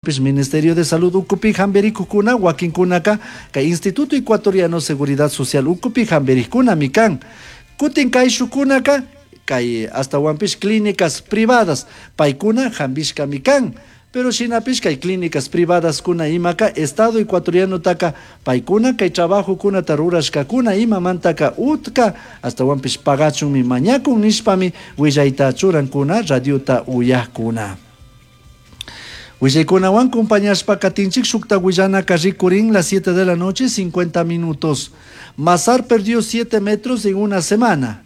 Ministerio de Salud ukupi hampirikukuna wakinkunaka kay Instituto Ecuatoriano Seguridad Social ukupi hampirikkunami kan. Kutin kayshukunaka kay astawanpish clínicas privadas paykuna hampishkami kan. Pero shinapish kay clínicas privadaskuna imaka Estado ecuatorianotaka paykuna kay trabajokunata rurashkakuna imamantaka utka astawanpish pagachunmi mañakun nishpami willayta churankuna radiota uyakuna. Willaykunawan compañashpa katinchik shukta willanaka rikurin las 7 de la noche 50 minutos. Mazar perdió 7 metros en una semana.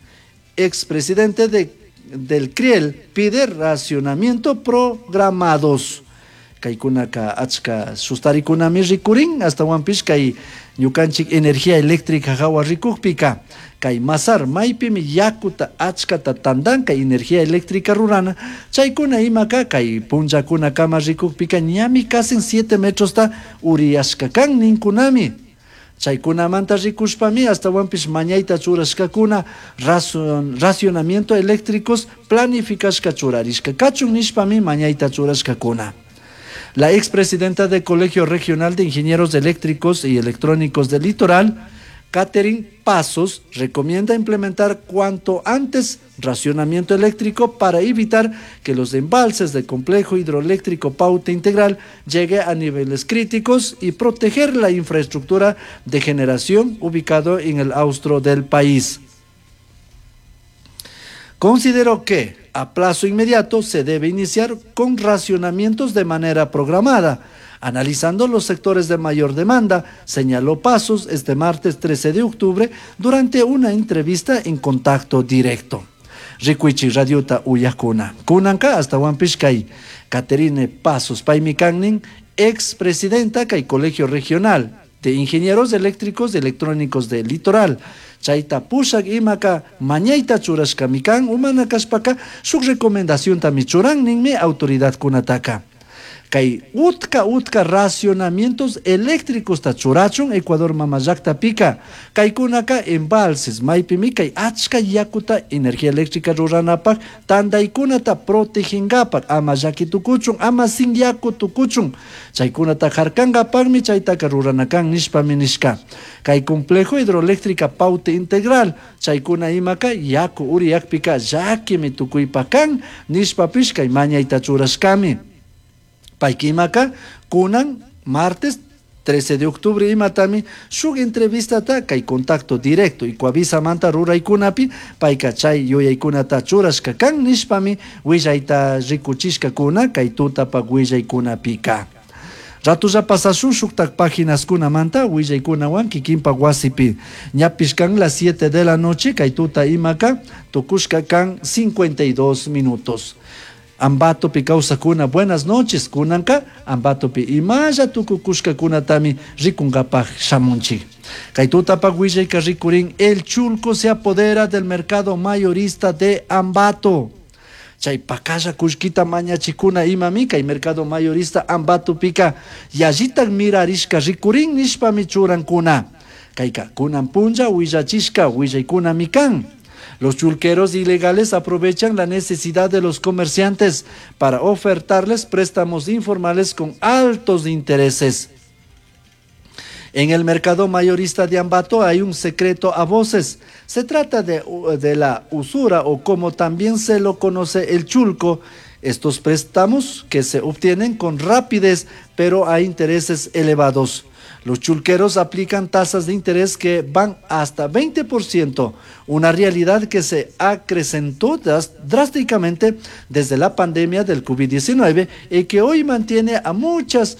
Expresidente del CRIEL pide racionamiento programados. Kaykunaka achka sustarikunami rikurin astawanpish kay ñukanchik energía eléctrica hawa rikukpika kay Mazar maypimi yakuta achkata tandan kay energía eléctrica rurana chaykuna imaka kay punllakunakama rikukpika ñami casi 7 metrosta uriyashka kan ninkunami. Chaykunamanta rikushpami astawanpish mañayta churashkakuna racionamiento eléctricos planificashka churarishka kachun nishpami mañayta churashkakuna. La expresidenta del Colegio Regional de Ingenieros Eléctricos y Electrónicos del Litoral, Catherine Pasos, recomienda implementar cuanto antes racionamiento eléctrico para evitar que los embalses del complejo hidroeléctrico Paute Integral llegue a niveles críticos y proteger la infraestructura de generación ubicado en el austro del país. Considero que a plazo inmediato se debe iniciar con racionamientos de manera programada, analizando los sectores de mayor demanda, señaló Pasos este martes 13 de octubre durante una entrevista en contacto directo. Rikuichi radiota uyakuna. Kunanka astawanpish kay Caterine Pasos paymi kannin, expresidenta kay Colegio Regional de Ingenieros Eléctricos y Electrónicos del Litoral. Chayta pushak imaka mañayta churashkami kan, umana kashpaka shuk recomendaciontami churan ninmi autoridadkunataka. Kay utka utka racionamientos eléctricos ta churachun Ecuador mama llaktapika. Kaykunaka embalses maypimi kay achka yakuta energía eléctrica ruranapak tandaykunata protegingapak ama llaki tukuchun ama sin yaku tukuchun chaykunata harkankapakmi chaytaka ruranakan nishpami nishka. Kay complejo hidroeléctrica Paute Integral chaykuna imaka yaku uriyakpika llakimi tukuypakan nishpapish kay mañayta churashkami. Paykimaka kunan martes 13 de octubre imatami shuk entrevistata kay contacto directo Ecuavisamanta ruraykunapi payka chay yuyaykunata churashka kan nishpami willayta rikuchishkakuna kay tutapak willaykunapika. Ratulla pasashun shuktak paginaskunamanta willaykunawan kikinpak wasipi. Ñapish kan las 7 de la noche kay tuta imaka tukushka kan 52 minutos. Ambatopi kawsakuna, buenas noches, kunanka, Ambatopi imalla tukukushkakunatami rikunkapak shamunchik. Kay tutapak willayka rikurin, el chulco se apodera del mercado mayorista de Ambato. Chay pakalla kullkita mañachikuna imami kay mercado mayorista Ambatopika yallitak mirarishka rikurin nishpami churankuna. Kayka kunan punlla willachishka willaykunami kan. Los chulqueros ilegales aprovechan la necesidad de los comerciantes para ofertarles préstamos informales con altos intereses. En el mercado mayorista de Ambato hay un secreto a voces. Se trata de la usura o como también se lo conoce el chulco. Estos préstamos que se obtienen con rapidez pero a intereses elevados. Los chulqueros aplican tasas de interés que van hasta 20%, una realidad que se acrecentó drásticamente desde la pandemia del COVID-19 y que hoy mantiene a muchos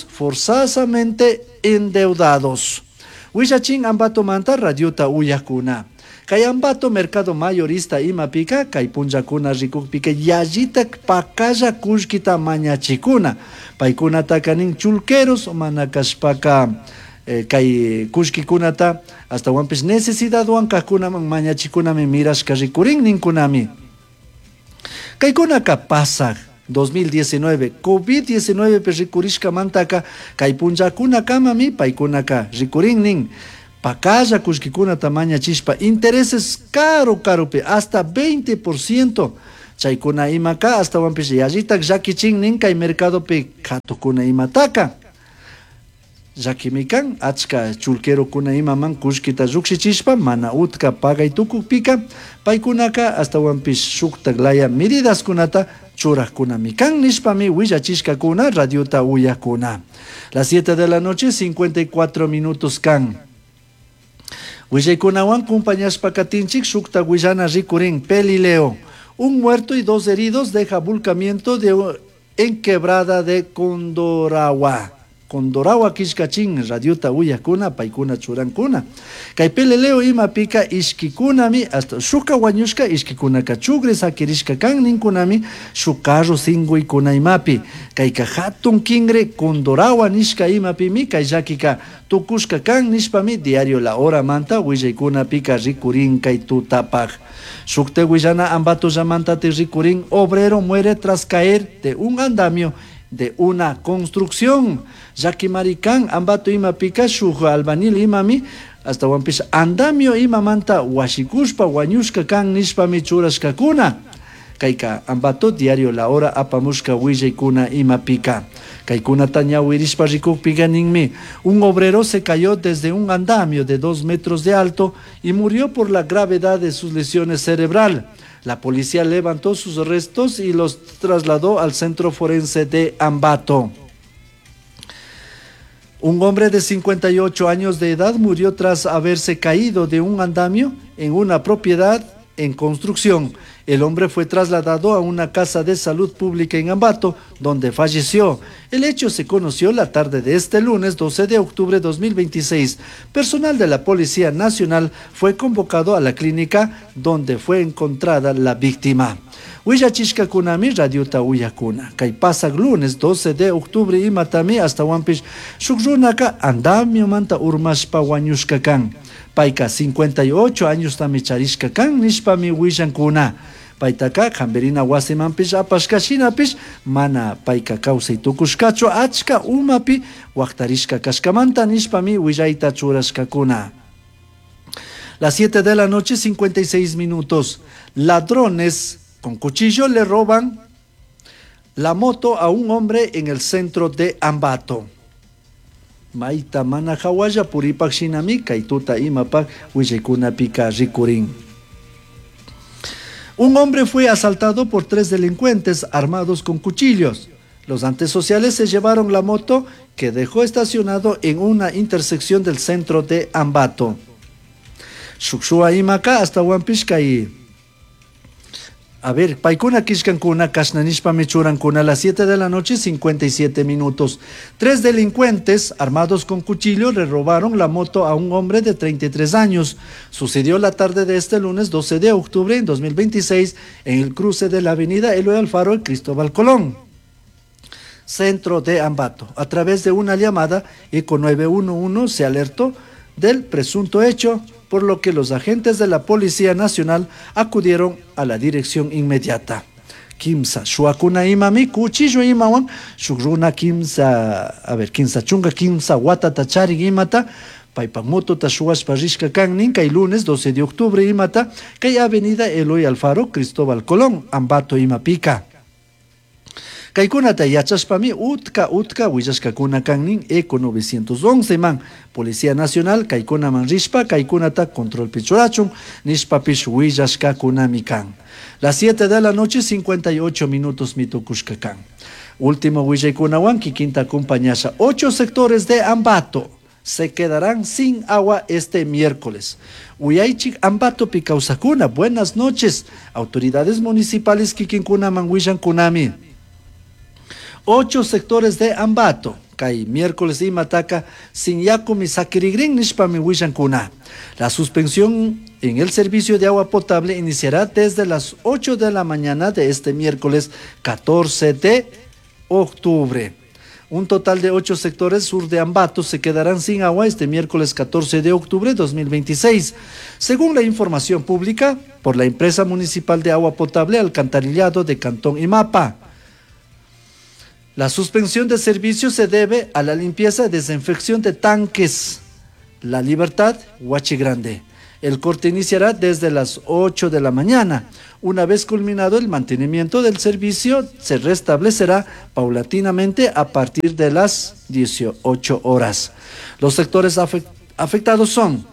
forzosamente endeudados. Willachin Ambato manta radiota uyakuna. Kay Ambato mercado mayorista imapika, kay punllakuna rikukpika yallitak pakalla kullkita mañachikuna. Paykunataka nin chulqueros mana kashpaka kay kullkikunata astawanpish necesidadwan kajkunaman mañachikunami mirashka rikurin ninkunami. Kaykunaka pasaj 2019 COVID-19 pe rikurishkamantaka kay punllakunakamami paykunaka rikurin nin. Pakalla kullkikunata mañachishpa intereses caro caropi hasta 20%. Chaykuna imaka astawanpish yallitak llakichin nin kay mercadopi katukuna imataka. Llakimi kan achka chulquerokuna imaman kullkita llukshichishpa mana utka pagay tukukpika paykunaka astawanpish shuktak laya medidaskunata churajkunami kan nishpami willachishkakuna radiota uyakuna. Las 7 de la noche 54 minutos kan. Willaykunawan compañashpa katinchik shukta willana rikurin Pelileo. Un muerto y 2 heridos deja volcamiento en quebrada de Condoragua. Condoragua kishkachin radiota uyakuna paykuna churankuna. Kay Pelileo imapika ishkikunami hasta shuka wañushka ishkikunaka chugre sakirishka kan ninkunami shuk carro singuykuna imapi. Kayka hatun kingre Condoragua nishka imapimi kay llakika tukushka kan nishpami diario La Hora manta willaykunapika rikurin kay tutapaj. Shukte willana Ambato llamantati rikurin obrero muere tras caer de un andamio de una construcción. Llakimarikan Ambato imapika shuk albañil imami hasta wampis andamio imamanta washikushpa wañushka kan nishpami churashkakuna. Kayka Ambato diario La Hora apamushka willaykuna imapika. Kaykunata ñawirishpa rikukpika ninmi un obrero se cayó desde un andamio de 2 metros de alto y murió por la gravedad de sus lesiones cerebral. La policía levantó sus restos y los trasladó al centro forense de Ambato. Un hombre de 58 años de edad murió tras haberse caído de un andamio en una propiedad en construcción. El hombre fue trasladado a una casa de salud pública en Ambato, donde falleció. El hecho se conoció la tarde de este lunes 12 de octubre de 2026. Personal de la Policía Nacional fue convocado a la clínica donde fue encontrada la víctima. Willachishkakunami radiota uyakuna. Kay pasak lunes 12 de octubre imatami hasta Huampish shuk runaka andamiomanta urmashpa wañushka kan. Payka 58 años tami charishka kan nishpami willankuna. Paytaka hamberina wasimanpish apashka shinapish mana payka kawsay tukushkachu achka umapi waqtarishka kashkamanta nishpami willayta churashkakuna. Las 7 de la noche, 56 minutos. Ladrones con cuchillo le roban la moto a un hombre en el centro de Ambato. Maita mana hawalla puripak shinami kaytuta imapak willaykunapika rikurin. Un hombre fue asaltado por 3 delincuentes armados con cuchillos. Los antisociales se llevaron la moto que dejó estacionado en una intersección del centro de Ambato. Shukshua imaka hasta Huampishka y A ver, paykuna kishkankuna kashnanishpami churankuna a las 7 de la noche, 57 minutos. 3 delincuentes armados con cuchillo le robaron la moto a un hombre de 33 años. Sucedió la tarde de este lunes 12 de octubre en 2026 en el cruce de la avenida Eloy Alfaro y Cristóbal Colón, centro de Ambato. A través de una llamada, Eco 911 se alertó del presunto hecho, por lo que los agentes de la Policía Nacional acudieron a la dirección inmediata. Kimsa, shuakuna imami, cuchillo imawan, shukruna kimsa, a ver, kimsa chunga, kimsa watata charin imata, paypak motota shuwashpa rishka kan nin, kay lunes 12 de octubre imata, kay avenida Eloy Alfaro, Cristóbal Colón, Ambato imapika. Kaykunata yachashpami utka utka willashkakuna kan nin Eco 911 man Policía Nacional kaykunaman rishpa kaykunata control pichurachun nishpapish willashkakunami kan. Las 7 de la noche 58 minutos mitukushka kan. Último willaykunawan kikinta acompañasha 8 sectores de Ambato se quedarán sin agua este miércoles. Uyaychik Ambato pikausakuna, buenas noches. Autoridades municipales kikinkunaman willankunami. 8 sectores de Ambato, kay miércoles imataka sin yakumi sakirigrin nishpami willankuna. La suspensión en el servicio de agua potable iniciará desde las 8 de la mañana de este miércoles 14 de octubre. Un total de 8 sectores sur de Ambato se quedarán sin agua este miércoles 14 de octubre de 2026, según la información pública por la empresa municipal de agua potable Alcantarillado de Cantón Imapa. La suspensión de servicio se debe a la limpieza y desinfección de tanques. La Libertad, Huachi Grande. El corte iniciará desde las 8 de la mañana. Una vez culminado el mantenimiento del servicio, se restablecerá paulatinamente a partir de las 18 horas. Los sectores afectados son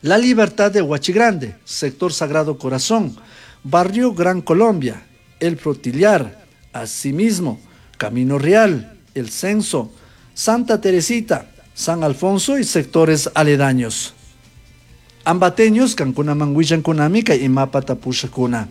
La Libertad de Huachigrande, sector Sagrado Corazón, Barrio Gran Colombia, El Frutillar, asimismo, Camino Real, El Censo, Santa Teresita, San Alfonso y sectores aledaños. Ambateños kankunaman willankunami kay imapata pushakuna.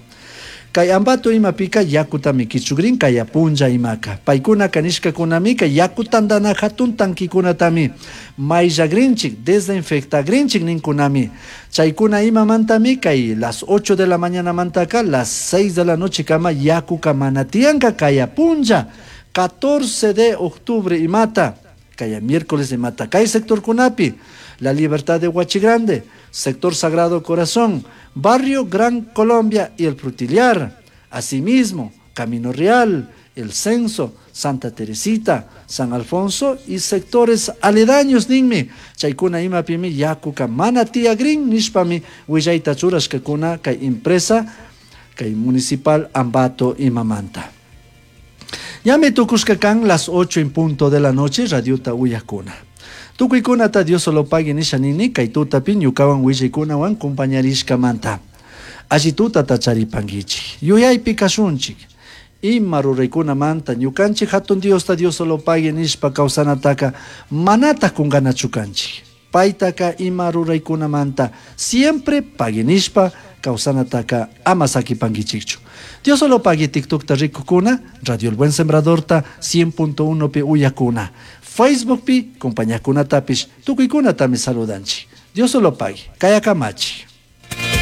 Kay Ambato imapika yakutami kichugrin kaya punlla imaka. Paykunaka nishkakunami kay yaku tandana hatun tankikunatami mayllagrinchik, desinfectagrinchik ninkunami. Chaykuna imamantami kay las 8 de la mañanamantaka las 6 de la noche kama yakuka mana tiyanka kaya punlla 14 de octubre imata. Kaya miércoles imata. Kay sectorkunapi, La Libertad de Huachigrande, sector Sagrado Corazón, Barrio Gran Colombia y El Frutillar. Asimismo, Camino Real, El Censo, Santa Teresita, San Alfonso y sectores aledaños ninmi. Chaykuna imapimi yakuka mana tiyagrin nishpami willayta churashkakuna kay empresa kay municipal Ambato imamanta. Ñami tukushka kan las 8 en punto de la noche radiota uyakuna. Tukuykunata Dios solo pague nisha nini kay tutapi ñukawan willaykunawan compañarishkamanta. Alli tutata charipankichik. Yuyaypi kashunchik. Ima ruraykunamanta ñukanchik hatun Diosta Dios solo pague nishpa kawsanataka manataq kunkanachu kanchik. Paytaka ima ruraykunamanta siempre pague nishpa kawsanataka ama sakipankichikchu. Dios solo pague TikTokta rikukuna, Radio El Buen Sembradorta 100.1 pi uyakuna. Facebook pi compañakunatapish tukuykunatami saludanchik. Dios solo pague. Kayakamachi.